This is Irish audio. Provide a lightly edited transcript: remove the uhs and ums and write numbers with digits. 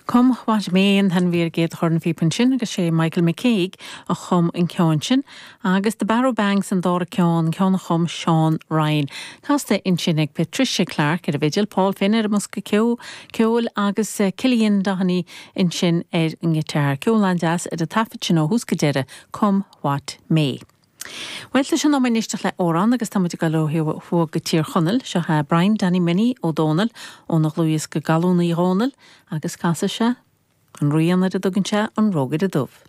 Come What May an t-ainm a bhí ar an gcéad chornphíopa ansin agus sé Michael McCague a chum an ceann sin agus The Barrow Banks an dara ceann, ceann a chum Seán Ryan. Casta ansin ag Patricia Clarke ar an bhfidil, Paul Finn ar an mbosca ceoil agus Cillian Doheny ansin ar an ngiotár. Ceol an-deas ar an taifead sin ó thús go deireadh, Come What May. Bhuel, tá sé in am éisteacht le amhrán agus tá muid ag dul ó thuaidh go Tír Chonaill. Seo é Brian Danny Minnie Ó Dónaill óna dhlúthdhiosca Gallúnaí Dhónaill agus casfaidh sé an rian ar a dtugann sé An Rógaire Dubh.